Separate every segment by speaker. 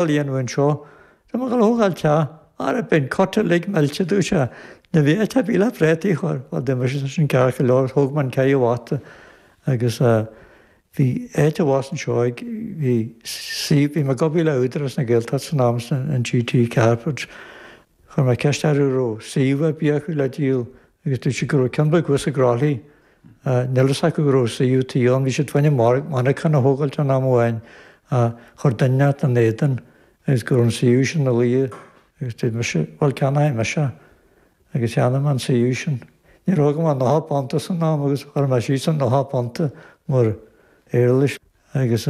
Speaker 1: A dhéanamh anseo. Tá mé ag dul a thógáil teach. Ara beidh an cut uilig millte, dúirt sé. Ní bheidh áit ar bith le préataí a chur. Bhuel, d'imigh sé sin ceart go leor. Thóg mé an ceithre bhata agus bhí áit abhus anseo ag, bhí suíomh, bhí mé ag obair le Údarás na Gaeltachta san am san, an GT Carpets. Chuir mé ceist orthu an raibh suíomh ar bith acu le díol agus dúirt siad go raibh ceann beag thuas i gCroithlí. Níl fhios acu go raibh suíomh tí ann. Bhí siad fá choinne monarchan a thógáilt ann am amháin ach chuir duine inteacht ina éadan agus go raibh an suíomh sin ina luí agus dúirt mise, bhuel ceannóidh mise é. Agus cheannaigh mé an suíomh sin. Ní raibh agam ach £90 san am agus chuir mé síos an £90 mar éarlais agus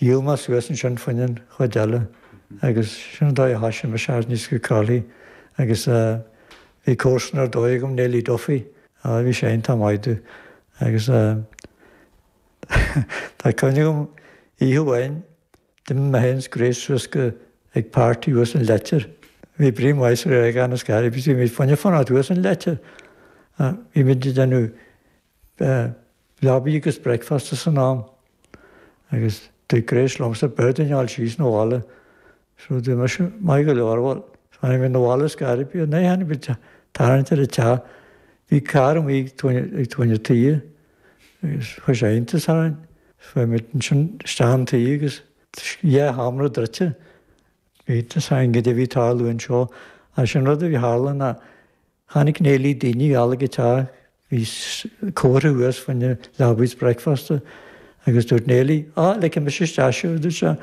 Speaker 1: Dhíol mé suas ansin fá choinne an chuid eile agus sin an dóigh a thoisigh mise aníos go Croithlí agus bhí comharsan ar dóigh agam, Neilí Duffy, á bhí sé iontach maith domh agus tá cuimhne agam oíche amháin d'imigh mé féin is Grace suas go ag party thuas an Leitir. Bhí brí maith sa Ghaeilge ann is gairid, bhí muid fá choinne fanacht thuas an Leitir. Bhí muid ag déanamh leabaidh agus bricfeasta san am agus dúirt Grace liomsa b'fhearr dúinn a ghabháil síos 'na bhaile. So dúirt mise, maith go leor, bhuel, tháinig muid 'na bhaile is gairid, bhí an tháinig muid tarraingt ar an teach, bhí carr amuigh ag tabhairne an toighe agus chuir sé iontas orainn. Chuaigh muid ansin isteach an toighe agus dhá sheomra druidte. Bhí iontas orainn goidé a bhí ag tarlú anseo. Ach sin rud a bhí tharla ná Chonaic Neilí daoine ag gabháil ag an teach, bhí comhartha thuas fá choinne leabaidh is bricfeasta agus dúirt Neilí, Á, ligfidh mise isteach sibh, a dúirt sé,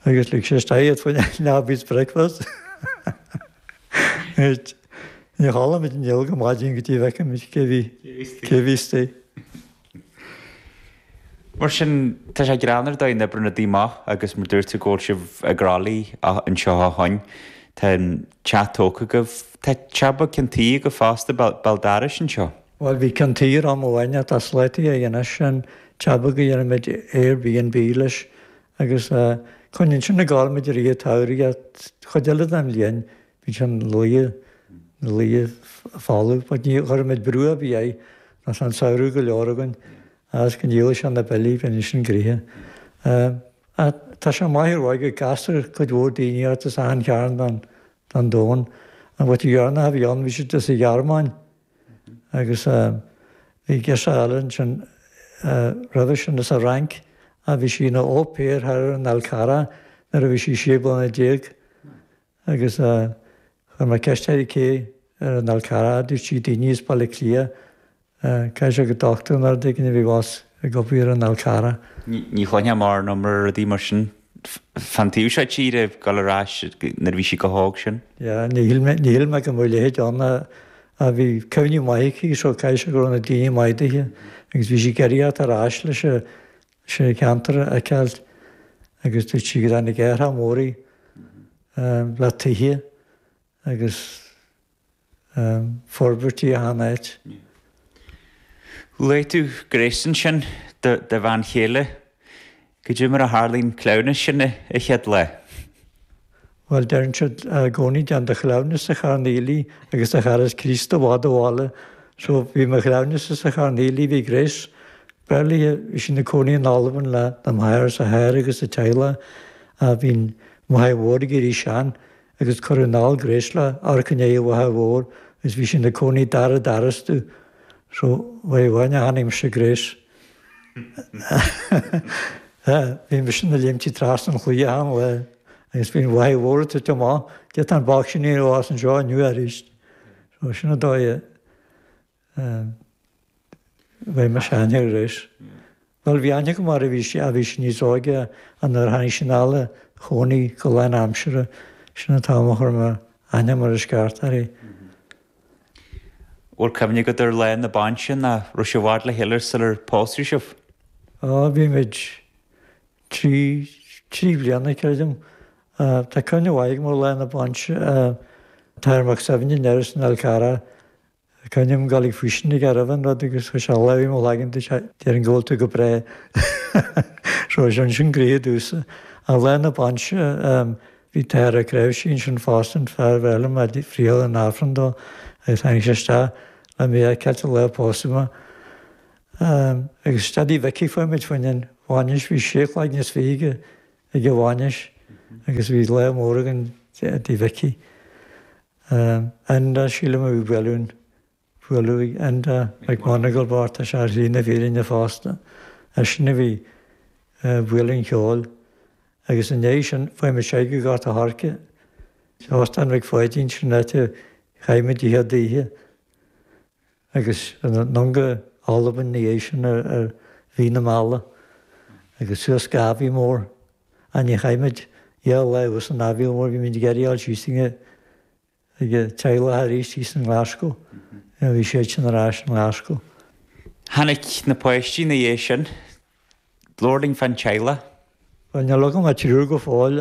Speaker 1: agus lig sé isteach iad fá choinne leabaidh is bricfeasta. Ní chodlaigh muid inniu go maidin go dtí bhfeicfidh muid cé bhí, cé bhí istigh.
Speaker 2: Mar sin, tá sé greannmhar an dóigh a n-oibríonn rudaí amach agus mar dúirt tú go bhfuil sibh i gCroithlí anseo ó shoin. Tá an teach tógtha agaibh. Tá teach beag ceann tuí agaibh fosta, Béal Dorais anseo.
Speaker 1: Bhuel, bhí ceann tuí ar am amháin ach tá slataithe aige anois, sin teach beag a dhéanann muid Airbnb leis agus coinníonn sin ag gabháil muid i rith an tsamhraidh ach chuid eile den bhliain Bhí sé ina luí, ina luí folamh, but ní chuireann muid brú ar bith air, nó tá an samhradh go leor againn, agus go ndíolfaidh sé na billí, bíonn sin gnoitheach. Ach tá sé maith ar dhóigh go gcastar cuid mhór daoine ort as achan chearn den, den domhan. An bhabhta dheireanach a bhí ann, bhí siad as an Ghearmáin, agus bhí girseach eile ansin roimhe sin as an Fhrainc, ach bhí sí ina au pair thoir ar an Fhál Carrach nuair a bhí sí 16 bliana. Agus chuir mé ceist uirthi cé ar an Fhál Carrach, dúirt sí daoine as Baile Átha Cliath, caithfidh sé gur dochtúir nó rud éigin a bhí abhus ag obair ar an Fhál Carrach.
Speaker 2: Ní chluinfeá mórán iomrá rudaí mar sin fán taobh seo tíre, ag dul ar ais nuair a bhí sí chomh hóg sin.
Speaker 1: Yeah, ní shíl mé, ní shíl mé go mbeadh a leithéid ann ach bhí cuimhní maith aici so caithfidh sé go raibh na daoine maith daoithe agus bhí sí ag iarraidh theacht ar ais leis an leis an cheantar a fheiceáil agus dúirt sí go dtáinig athrach mór í le tithe agus forbairtí achan áit.
Speaker 2: Luaigh tú Grace ansin, do bhean chéile. Goidé mar a tharlaigh an cleamhnas sin an chéad lá?
Speaker 1: Bhuel, deireann siad i gcónaí déan do chleamhnas sa Charn Aoiligh agus do chara Críost i bhfad ó bhaile. So, bhí mo chleamhnas sa Charn Aoiligh, bhí Grace barely, bhí sí ina cónaí in Albain le na máthair is a hathair agus a teaghlach ach bhí an mháthair mhór ag éirí sean agus cuireadh anall Grace le amharc i ndiaidh an mháthair mhór agus bhí sí ina cónaí dara doras domh. So, uair amháin a chonaic mise Grace. Bhí mise ina léimtí trasna an chlaí achan lá agus bhí an mháthair mhór ag tabhairt amach, cé tá an boc sin ag fás anseo inniu arís. So sin an dóigh a bhfuair mise aithne ar Grace. Bhuel bhí aithne agam uirthi bhí sí, bhí sí níos óige ach nuair a tháinig sí anall a chónaí go lán aimsire, sin an t-am a chuir mé aithne mar is ceart uirthi.
Speaker 2: Bhfuil cuimhne agat ar lá na bainse nó raibh sibh i bhfad le chéile sular pósadh sibh?
Speaker 1: Á, bhí muid trí, trí bliana, creidim. Tá cuimhne mhaith agam ar lá na bainse. Tá Mac Suibhne in Iorras an Fhál Carrach. Tá cuimhne agam dul ag faoistin aige roimh an rud agus chuir sé a lámh i mo chloigeann dúirt sé, déarfainn go bhfuil tú go breá. So sin sin gnoithe domhsa. Ach lá na bainse, Bhí t-athair Ó Creabhsí ansin fosta, an fear a bheir liom a friotháil an Aifreann dó agus tháinig sé isteach le mé a fheiceáilt an lá a pósadh mé. Agus isteach dtí Mhicí fuair muid fá choinne an bhainis, bhí sé chloigne is fiche ag an bhainis. agus bhí lá mór againn i dtigh Mhicí. Enda, sílim a bhí bualadh an, bualadh ag Enda McMonagle bocht, tá sé ar shlí na fírinne fosta. Eisean a bhí ag bualadh an cheoil agus i ndiaidh sin fuair muid siar go Gort a' Choirce, Óstán Mhic Pháidín, sin an áit a chaith muid an chéad oíche. Agus anonn go Albain ina dhiaidh sin ar mhí na meala agus suas go Aviemore. Ach ní chaith muid dhá lá thuas in Aviemore, bhí muid ag iarraidh a fháil síos ag an teaghlach arís thíos in nGlasgow. Bhí siad sin ar ais in nGlasgow.
Speaker 2: Tháinig na páistí ina dhiaidh sin. Labhair linn fán teaghlach.
Speaker 1: Bhuel, níl agam ach triúr go fóill.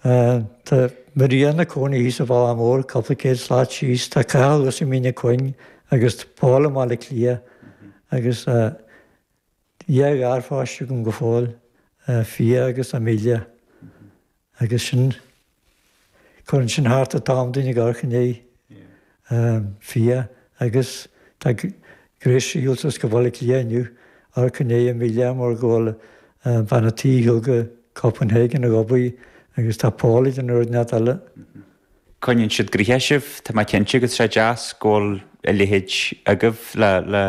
Speaker 1: Tá Maria ina cónaí thíos sa Bhealach Mór, cúpla céad slat síos. Tá Cathal thuas i Mín an Chuing agus tá Paul i mBaile Átha Cliath. Agus dhá gharpháiste agam go fóill, Fia agus Amelia. Agus sin, cuireann sin thart an t-am dúinn ag amharc i ndiaidh Fia agus tá Grace ar shiúl suas go Baile Átha Cliath inniu, amharc i ndiaidh Amelia mar go bhfuil bean a' tí ar shiúl go Copenhagen ag obair agus tá Paul ag déanamh rud inteacht eile.
Speaker 2: Coinníonn siad gnoitheach sibh, tá mé cinnte, agus tá sé deas go bhfuil a leithéid agaibh le le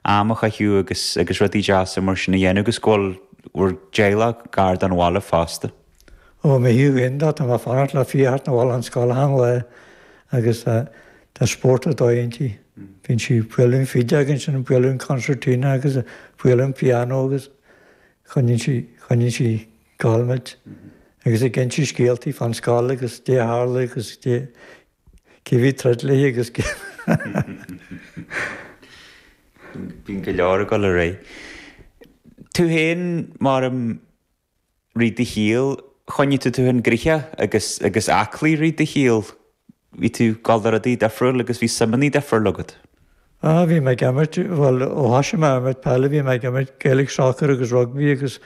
Speaker 2: am a chaitheamh agus agus rudaí deasa mar sin a dhéanamh agus go bhfuil bhur dteaghlach gar don bhaile fosta.
Speaker 1: Ó mo thaobh féin de, tá mé ag fanacht le Fia a theacht 'na bhaile ón scoil achan lá agus tá spórt ar dóigh inti. Bíonn sí ag bualadh an fhidéal ansin, ag bualadh an concertina agus ag bualadh an pianó agus choinníonn sí, choinníonn sí ag gabháil muid agus ag inse scéaltaí fán scoil agus dé a tharla agus dé cé bhí troid léi agus cé
Speaker 2: Bíonn go leor ag dul ar aghaidh. Tú féin mar i rith do shaoil, choinnigh tú tú féin gnoitheach agus agus aclaí rith do shaoil. Bhí tú ag dul do rudaí difriúil agus bhí suimeanna difriúil agat.
Speaker 1: Ah, bhí mé ag imirt, bhuel, ó thoisigh mé ag imirt peile bhí mé ag imirt Gaelic soccer agus rugby agus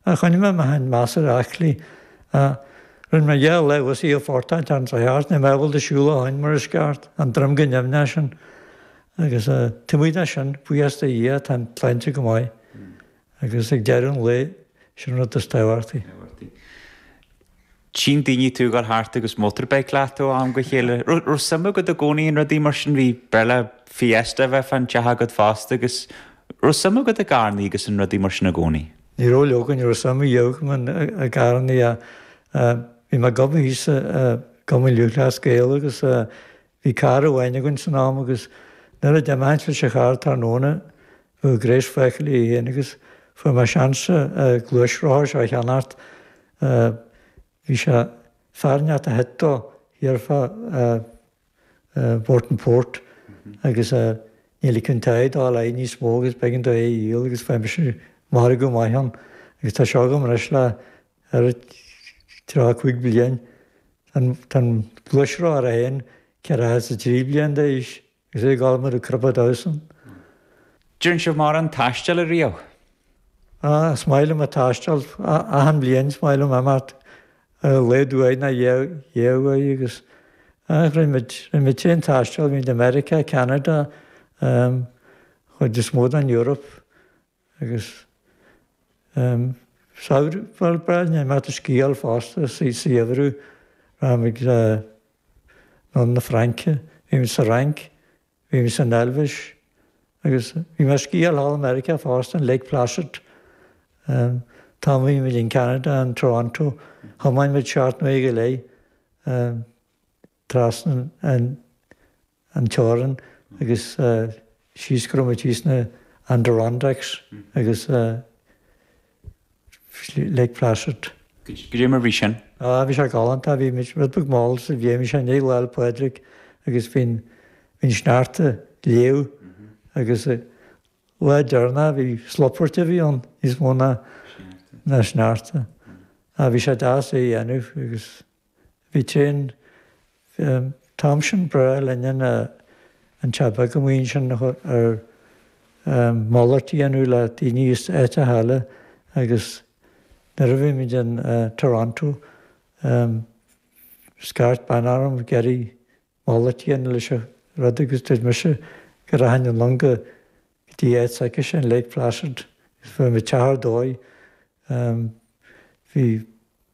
Speaker 1: ah, choinnigh mé mé féin measartha aclaí. Ah, rinne mé dhá lá thuas i Phortáin an sa cheart, níl mé ábalta siúl ó shoin mar is ceart, an droim go nimhneach sin. Agus ah, taobh amuigh de sin, buíochas do Dhia, tá an tsláinte go maith. Agus ag deireadh an lae, sin an rud is tábhachtaí.
Speaker 2: Tchíonn daoine tú ag dul thart agus motorbike leat ó am go chéile. Raibh suim agat i gcónaí in rudaí mar sin? Bhí breithlá Fiesta a bheith fán teach agat fosta agus raibh suim agat i gcarrannaí agus in rudaí mar sin i gcónaí?
Speaker 1: Ní raibh leoga, ní raibh suim riamh agam i gcarrannaí. Bhí mé ag obair thíos i gCumann Lúthchleas Gael agus bhí carr amháin againn san am agus nuair a d'imtheoinn leis an charr tráthnóna Bhí Grace fágtha léi féin agus fuair mé seans an gluaisrothar seo a cheannacht. Bhí sé fear inteacht a thit dó thiar fá Burtonport agus níl an t-ádh dul ar aghaidh níos mó agus b'éigean dó é a dhíol agus fuair mise margadh maith ann agus tá seo agam anois le thar 35 bliain. Tá an gluaisrothar é féin 43 bliain d'aois. Is é ag gabháil mar a cruppa damhsan.
Speaker 2: Deireann sibh mórán taistil ariamh?
Speaker 1: Ah, is maith liom a taisteal. Achan bhliain is maith liom imeacht ar a laghad uair nó dhá uair agus ah, rinne muid, rinne muid tréan taistil, bhí muid i Meiriceá, Ceanada, um, chuid is mó den Eoraip agus um, samhradh, bhuel, breá linn imeacht ag sciáil fosta sa gheimhreadh, rachaimid chun na Fraince. Bhí muid sa Fhrainc, bhí muid san Eilvéis agus bhí mé ag sciáil thall i Meiriceá fosta, in Lake Placid. An t-am a bhí muid in Ceanada, in Toronto, thiomáin muid seacht n-uaire go leith trasna an an teorainn agus síos go raibh muid thíos sna Adirondacks agus Lake Placid.
Speaker 2: Goidé mar bhí sin?
Speaker 1: Ah, bhí sé galánta, bhí muid rud beag mall sa bhliain, bhí sé i ndiaidh Lá 'le Pádraig agus bhí an, bhí an sneachta léamh agus lá deireanach bhí slupairt a bhí ann níos mó ná, ná sneachta. Ah, bhí sé deas é a dhéanamh agus. Bhí tréan an t-am sin breá linn an teach beag amuigh ansin ar malairt a dhéanamh le daoine as áiteacha eile agus nuair a bhí muid in Toronto scairt bean orm ag iarraidh malairt a dhéanamh leis an rud agus dúirt mise go rachainn anonn go dtí áit s'aicise in Lake Placid agus fuair muid teach ar dóigh. Bhí.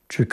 Speaker 1: Trí.